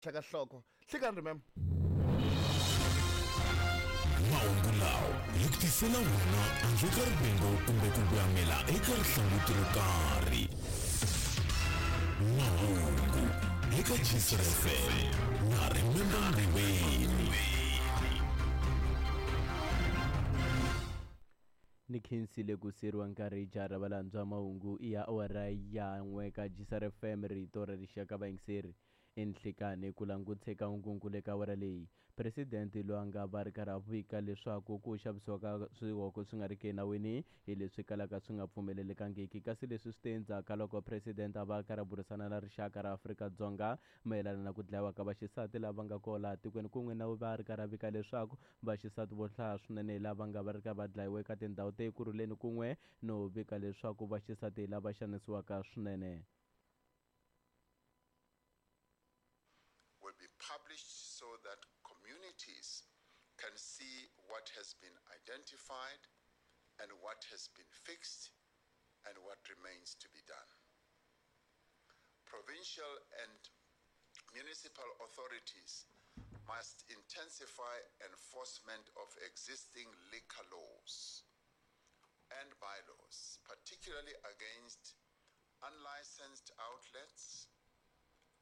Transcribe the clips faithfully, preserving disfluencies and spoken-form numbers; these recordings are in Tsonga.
Ka nhloko hlekani remember. Mahungu lawa hi ku tisela wona handle ka rivengo kumbe ku voyamela eka rihlanguti ro karhi. Mahungu eka G C F M na Remember Ndiweni. Ni khensile ku siriwa nkarhi jara valandzwa. Mahungu i ya awara ya n'we ka G C R F M, rito ra rixaka. Vayingiseri, enhlekani ku languteka nkunku le ka awara leyi. Presidente loyi a nga va ri karhi a vika leswaku ku xavisiwa ka swihoko swi nga ri ki enawini hi leswi kalaka swi nga pfumelelekangiki, kasi leswi swi te endzhaku ka loko president a va karhi a burisana na rixaka ra Afrika-Dzonga mayelana na ku dlayiwa ka vaxisati lava nga kona laha tikweni, kun'we na va ri karhi a vika leswaku vaxisati vo hlaya swinene lava nga va ri karhi va dlayiwa eka tindhawu ta Ekurhuleni, kun'we no vika leswaku vaxisati lava xanisiwaka swinene. Will be published so that communities can see what has been identified and what has been fixed and what remains to be done. Provincial and municipal authorities must intensify enforcement of existing liquor laws and bylaws, particularly against unlicensed outlets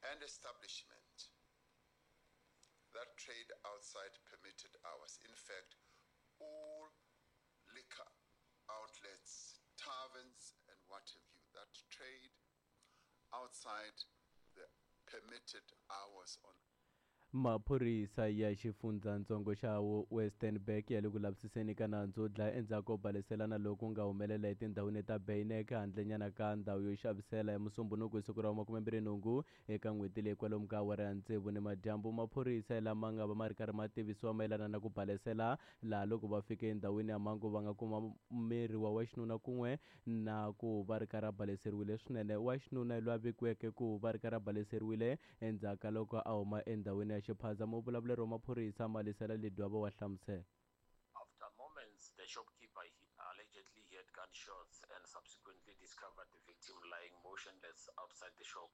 and establishments that trade outside permitted hours. In fact, all liquor outlets, taverns, and what have you that trade outside the permitted hours on Maphorisa ya xifundzatsongo xa Westernburg ya le ku lavisiseni ka nandzu wo dlaya endzhaku ko baleselana loku nga humelela etindhawini ta Beinek, handlenyana ka ndhawu yo xavisela, ya Musumbunuku hi siku ra makumembirhi nhungu eka n'hweti leyi, kwalomu ka awara ya tsevu ni madyambu. Maphorisa lama nga va ma ri karhi ma tivisiwa mayelana na ku balesela laha, loko va fike endhawini ya mhangu, va nga kuma miri wa wa xinuna kun'we na ku va ri karhi a baleseriwile swinene. Wa xinuna loyi a vikiweke ku va ri karhi a baleseriwile endzhaku ka loko a huma endhawini ya xiphaza. Muvulavuleri wa maphorisa Malisela Ledwaba wa hlamusela. After moments, the shopkeeper, he allegedly heard gunshots and subsequently discovered the victim lying motionless outside the shop.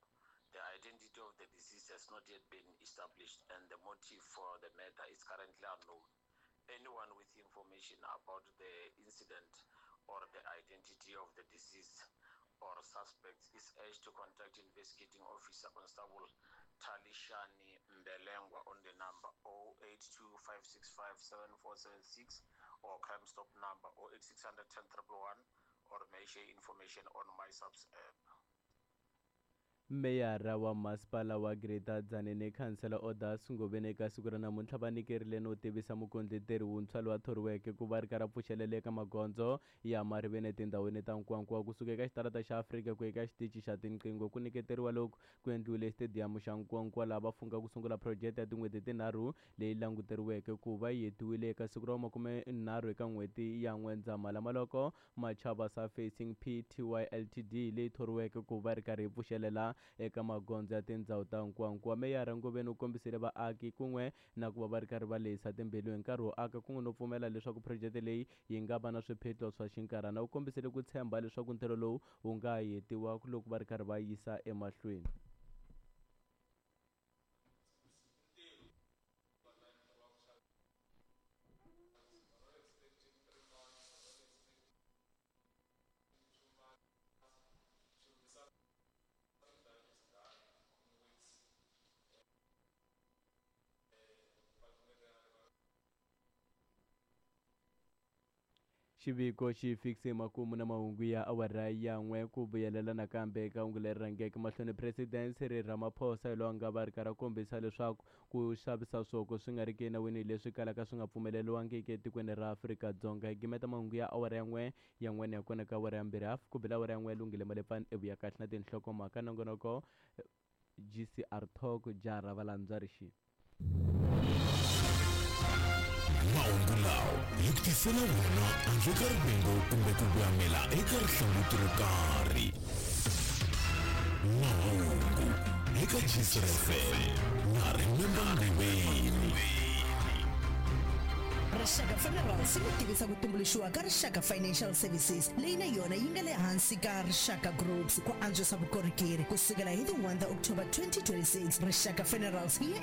The identity of the deceased has not yet been established and the motive for the murder is currently unknown. Anyone with information about the incident or the identity of the deceased or suspects is urged to contact investigating officer Constable Talishani Mbelengwa on the number zero eight two, five six five, seven four seven six or Crime Stop number zero eight six hundred ten one one or may share information on MySAPS app. Meyara wa masipala wa Greater Tzaneen, khansela Odas Ngobeni, eka siku ra namuntlha va nyikerile no tivisa mukondleteri wuntshwa loyi a thoriweke ku va ri karhi a pfuxelela eka magondzo ya mariveni etindhawini ta Nkowankowa, kusuka eka xitarata xa Afrika ku eka xitichi xa tinqingho. Ku nyiketeriwa loku ku endliwile xitediyamu xa Nkowankowa, laha va fungha ku sungula phurojeke ya tin'hweti tinharhu leyi languteriweke ku va yi hetiwile eka siku ra makumenharhu eka n'hweti ya N'wendzamhala. Maloko Machaba Surfacing P T Y L T D leyi thoriweke ku va ri karhi yi pfuxelela eka magondzo ya tindhawu ta Nkowankowa. Meyara Ngobeni u kombisile vaaki kun'we na ku va va ri karhi va lehisa timbilu hi nkarhi wo aka, kun'we no pfumela leswaku phurojeke leyi yi nga va na swiphiqo swa xinkarhana. U kombisile ku tshemba leswaku ntirho lowu wu nga hetiwa loko va ri karhi va yisa emahlweni. Xiviko xi fikise makumu na mahungu ya awara ya n'we. Ku vuyelela nakambe eka hungu leri rhangeke mahlweni, President Cyril Ramaphosa hi loyi a nga va ri karhi a kombisa leswaku ku xavisa swoko swi nga ri ki enawini leswi kalaka swi nga pfumeleriwangiki etikweni ra Afrika-Dzonga. Hi gimeta mahungu ya awara ya n'we ya n'wene ya kona ka awara ya mbirhi hafu ku bela awara ya n'we. Lunghile Malepfani evuya kahle na tinhlokomhaka nongonoko G C R Talk jara valandzwa rixi. Mahungu lawa hi ku tisela wona handle ka rivengo kumbe ku voyamela eka rihlanguti ro karhi. Mahungu eka G C R F M na Remember Ndiweni. Rixaka Funerals yi tivisa ku tumbuluxiwa ka Rixaka Financial Services, leyi na yona yi nga le hansi ka Rixaka Groups, ku antswisa vukorhokeri. Kusukela hi ti one ta October twenty twenty-six, Rixaka Funerals yi ya